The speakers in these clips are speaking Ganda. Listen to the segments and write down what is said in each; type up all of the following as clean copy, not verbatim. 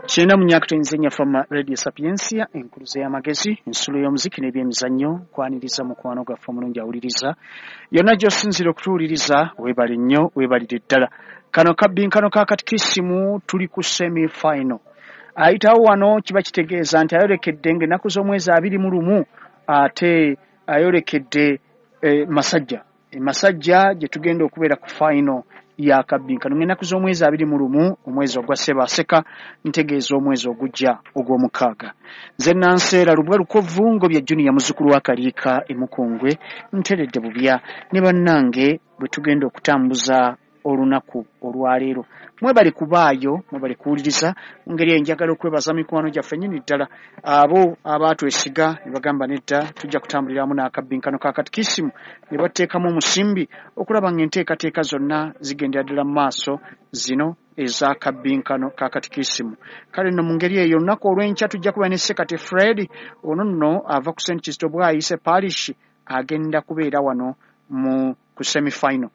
Kyenda mu myaka tuyinza Fama Radio Sapiensia, enkuluze y'amagezi, ensulo y'omuziki n'ebyemizannyo. Kwaniriza mukwano gwaffe omulungi awuliriza yonna gy'osinziira okutuwuliriza. Weebale nnyo, weebalire ddala. Kano kabbinkano ka katikisimu, tuli ku semi final. Ayitawo wano kiba kitegeeza nti ayolekedde ng'ennaku z'omwezi 21, ate ayolekedde Masajja. Masajja gye tugenda okubeera ku final yakabbinkano ng'ennaku z'omwezi 21, omwezi ogwa Ssebaaseka, ntegeeza omwezi ogujja ogw'omukaaga. Nze Nanseera Lubwa Lukovu Ngobya Junior, muzzukulu wa Kaliika Emukungwe, nteredde bubya ne bannange bwe tugenda okutambuza olunaku olwaleero. Mwebale kubaayo, mwebale kuwuliriza. Mu ngeri eyo njagala okwebaza mikwano gyaffe nnyini ddala, abo abaatwesiga ne bagamba, "Nedda, tujja kutambuliramu n'akabbinkano ka katikisimu," ne bateekamu omusimbi okulaba ng'enteekateeka zonna zigendera ddala mu maaso, zino ez'akabbinkano ka katikisimu. Kale nno mu ngeri eyo, olunaku olw'enkya tujja kuba ne Sekate Fred. Ono nno ava ku St Kizito Bwayise Parish, agenda kubeera wano mu ku semifinal.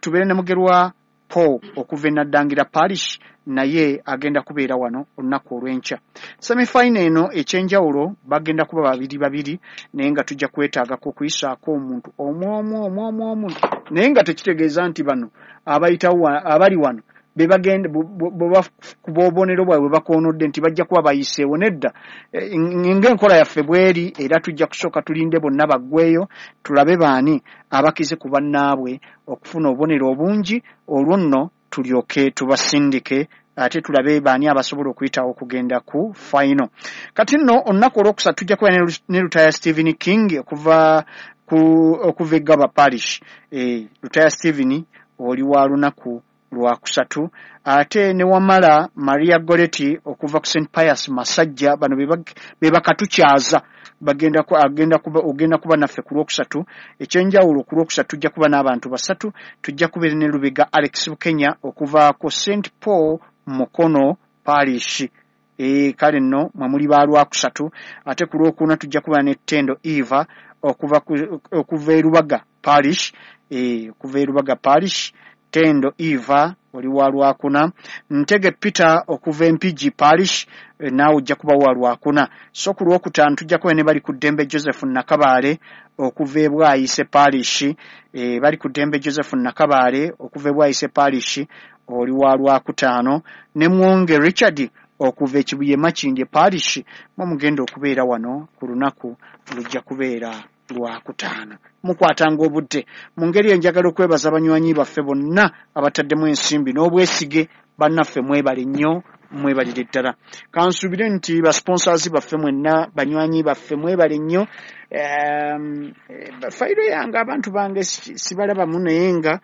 Tubeere ne Mugerwa Paul okuva e Naddangira Parish, naye agenda kubeera wano olunaku olw'enkya. Semifinal eno ekyenjawulo bagenda kuba babiri babiri, naye nga tujja kwetaagako okuyisaako omuntu omu omu omu omu omu, naye nga tekitegeeza nti bano abayitawo abali wano bebagenda kuba obubonero bwabwe bwe bakoonodde nti bajja kuba bayiseewo. Nedda. Ng'enkola yaffe bweri, era tujja kusooka tulinde bonna baggweyo, tulabe baani abakize ku bannaabwe okufuna obubonero obungi, olwo nno tulyoke tubasindike, ate tulabe baani abasobola okuyitawo okugenda ku final. Kati nno olunaku olwokusatu tujja kuba ne Lutaya Stephen King okuva e Gaba Parish. Lutaya Stephen, oli wa lunaku lwakusatu. Ate ne Wamala Maria Goreti okuva ku St Pius Masajja. Bano be bakatukyaza, bagenda agenda kuba, ogenda kuba naffe ku lwokusatu. Ekyenjawulo, ku lwokusatu tujja kuba n'abantu basatu. Tujja kubeera ne Lubega Alex Bukenya okuva ku St Paul Mukono Parish. Kale nno mwe muli ba lwakusatu. Ate ku lwokuna tujja kuba ne Tendo Eva okuva e Lubaga Parish. Okuva e Lubaga Parish, Tendo Eva, oli wa lwakuna. Ntege Peter okuva Empigi Parish, naawe ojja kuba wa lwakuna. So ku lwokutaano tujja kuba ne bali ku ddembe Joseph Nakabaale okuva e Bwayise Parish. Bali ku ddembe Joseph Nakabaale okuva e Bwayise Parish, oli wa lwakutaano. Ne Mwonge Richard okuva e Kibuye Makindye Parish, mwe mugenda okubeera wano ku lunaku lujja kubeera lwakutaano. Mukwatanga obudde. Mu ngeri eyo njagala okwebaza banywanyi baffe bonna abataddemu ensimbi n'obwesige. Bannaffe, mwebale nnyo, mwebalire ddala. Kansuubire nti basponsors baffe mwenna, banywanyi baffe, mwebale nnyo. Fayiro yange, abantu bange sibalabamu, naye nga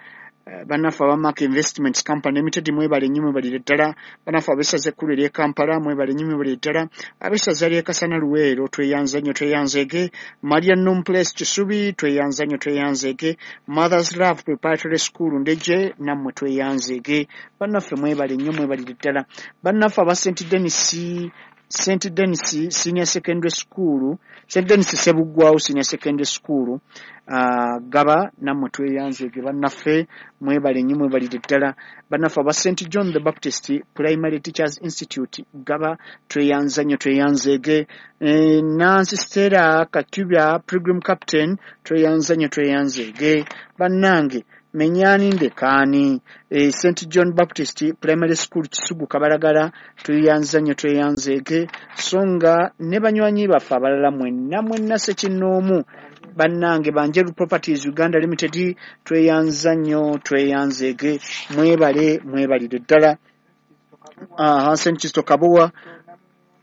bannaffe aba Mark Investments Company Limited, mwebale nnyo, mwebalire ddala. Bannaffe ab'essaza ekkulu ery'e Kampala, mwebale nnyo, mwebalire ddala. Ab'essaza ly'e Kasana Luweero, tweyanza nnyo, tweyanzeege. Maria Num Place Kisubi, tweyanza nnyo, tweyanzeege. Mothers Love Preparatory School Ndeje, nammwe tweyanzeege. Bannaffe, mwebale nnyo, mwebalire ddala. Bannaffe aba St Denis Senior Secondary School, St Denis Sebuggwawo Senior Secondary School, Gaba, nammwe tweyanzeege. Bannaffe, mwebale nnyo, mwebalire ddala. Bannaffe aba St John the Baptist Primary Teachers Institute Gaba, tweyanza nnyo, tweyanzeege. Nancy Stella Katubya, Pilgrim Captain, tweyanza nnyo, tweyanzeege. Bannange, menyani ndekaani. St John Baptist Primary School Kisugu Kabalagala, tweyanza nnyo, tweyanzeege. So nga ne banywanyi baffe abalala mwenna mwenna sekinnoomu, bannange Banjeru Properties Uganda Limited, tweyanza nnyo, tweyanzeege. Mwebale, mwebalire ddala. St Kizito Kabowa,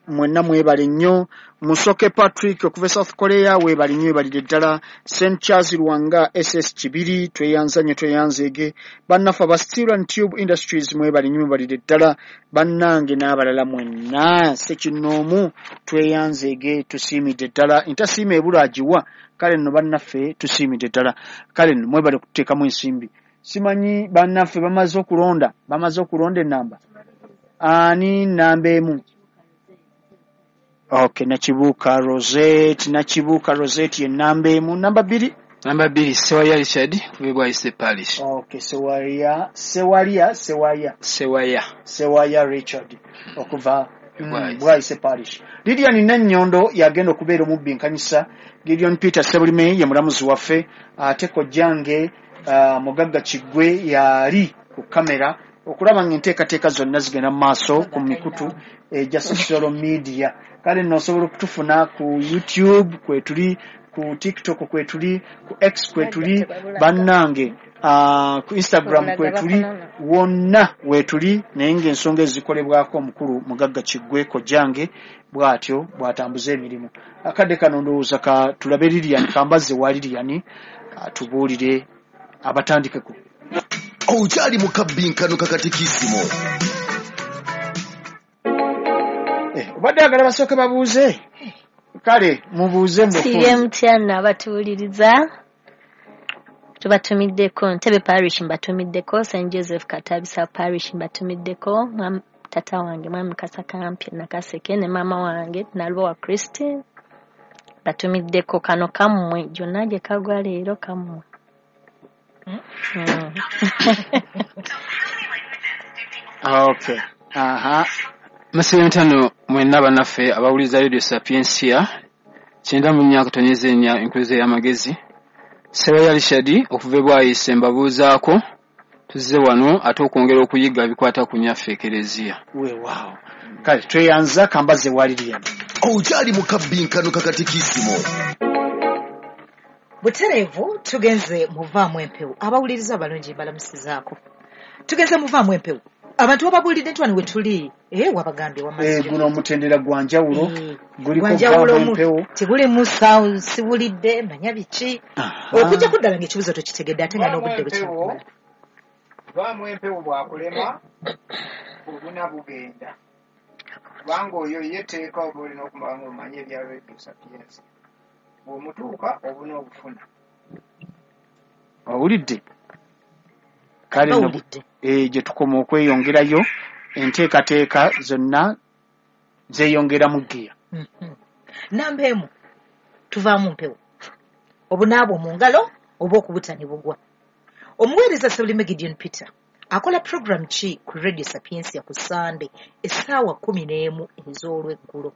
mwenna mwebale nnyo. Musoke Patrick okuva e South Korea, weebale nnyo, weebalire ddala. St Charles Lwanga SS Kibiri, tweyanza nnyo, tweyanzeege. Bannaffe aba Steel and Tube Industries, mwebale nnyo, mwebalire ddala. Bannange n'abalala mwenna sekinnoomu, tweyanzeege, tusiimidde ddala. Entasiima ebula agiwa. Kale nno bannaffe, tusiimidde ddala. Kale nno mwebale kututeekamu ensimbi. Simanyi bannaffe bamaze okulonda, bamaze okulonda enamba. Ani namba 1? Okay, Nakibuuka Rosette. Nakibuuka Rosette ye namba 1. Namba 2? Namba 2 Sewaya Richard kuva Bwaise Parish. Okay, Sewaya Sewaya Sewaya Sewaya Sewaya Richard okuva Bwaise Parish. Lilian Nannyondo yagenda okubeera omubbinkanyisa. Gideon Peter Sebulime ye mulamuzi waffe, ate kojjange Mugagga Kiggwe yali ku kamera okulaba ng'enteekateeka zonna zigenda mu maaso ku mikutu egya social media. Kale nno osobola okutufuna ku YouTube kwetuli, ku TikTok kwetuli, ku X kwetuli, bannange ku Instagram kwetuli, wonna weetuli, naye ng'ensonga ezikolebwako omukulu Mugagga Kiggwe kojjange bw'atyo bw'atambuza emirimu. Akadde kano ndowooza ka tulabe Lilian, kambaze wa Lilian atubuulire abatandikeko. Okyali mu kabbinkano kakatikisimu. Obadde agala basooke babuuze? Kale mubuuze mbufunze. Mutya n'abatuwuliriza, tubatumiddeko Ntebe Parish, mbatumiddeko St Joseph Katabisa Parish, mbatumiddeko tata wange Mwami Kasakampye Nakaseke ne maama wange Nalubowa Christine, batumiddeko kano kammwe gyonna gye kagwa leero kammwe. Okay. Aha. Masebe ntano mwenna bannaffe abawuliriza Radio Sapientia 94.4 enkuluze y'amagezi. Sewaya Richard okuva e Bwaise mbabuuzaako, tuzze wano ate okwongera okuyiga ebikwata ku nnyaffe Ekereziya. Weewaawo. Kale tweyanza, kambaze wa Lilian. Okyali mu kabbinkano kakatikisimu. Butereevu tugenze muvaamu empewo. Abawuliriza abalungi mbalamusizaako. Tugenze muvaamu empewo. Abantu bababuulidde nti wano we tuli, wabagambye wamazzi. Guno omutendera gwa njawulo, guliko vaamu empewo. Tegulimu sound, siwulidde, manya biki. Okujja kuddala ng'ekibuuzo tokitegedde ate nga n'obudde bukyakumala. Vaamu empewo bw'akulema, obuna bugenda. Kubanga oyo ye tteeka oba olina okumala ng'omanye ebya Radio Sapientia. Bw'omutuuka obuna obufuna. Owulidde? Kale nno gye tukoma okweyongerayo, enteekateeka zonna zeeyongeramu ggiya. Namba 1 tuvaamu mpewo. Obunaabwo mu ngalo oba okubuta ne bugwa. Omuweereza Sebulime Gideon Peter akola program ki ku Radio Sapientia ku Sunday essaawa 11 ez'olweggulo?